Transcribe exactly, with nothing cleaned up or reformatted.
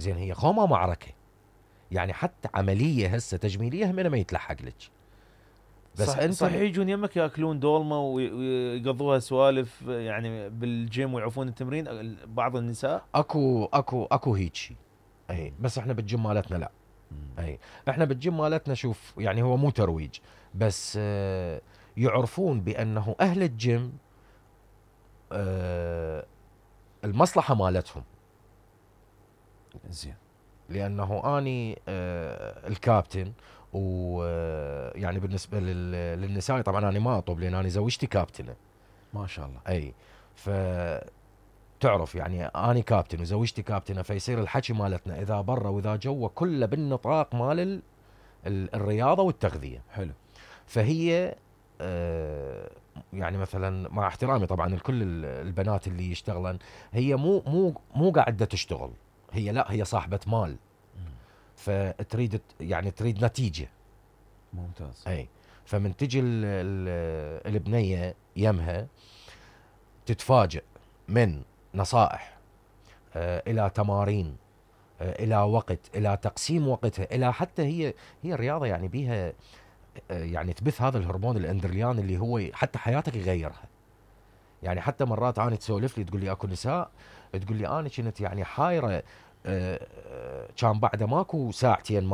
زين هي خوما معركة، يعني حتى عملية هسه تجميلية هم ما يتلحق لك. بس صح، صح يجون يمك ياكلون دولمه ويقضوها سوالف يعني بالجيم ويعوفون التمرين بعض النساء. اكو اكو اكو هيك شيء، اي بس احنا بالجيم مالتنا لا. اي احنا بالجيم مالتنا شوف يعني هو مو ترويج، بس آه يعرفون بانه اهل الجيم آه المصلحة مالتهم. زين. لانه اني آه الكابتن، ويعني بالنسبة للنساء طبعا انا ما اطب لان انا زوجتي كابتنة ما شاء الله. اي ف تعرف يعني اني كابتن وزوجتي كابتنة، فيصير الحكي مالتنا اذا برا واذا جوا كله بالنطاق مال ال... ال... الرياضة والتغذية. حلو. فهي آه يعني مثلا مع احترامي طبعا لكل البنات اللي يشتغلن، هي مو مو مو قاعدة تشتغل، هي لا هي صاحبة مال، فتريد يعني تريد نتيجة. ممتاز. اي فمن تجي ال ال البنية يمها تتفاجئ من نصائح آه الى تمارين آه الى وقت، الى تقسيم وقتها، الى حتى هي هي الرياضة يعني بيها آه يعني تبث هذا الهرمون الاندرليان اللي هو حتى حياتك يغيرها. يعني حتى مرات انا تسولف لي تقول لي اكو نساء تقول لي انا كنت يعني حايرة آه كان بعد ماكو ساعتين مال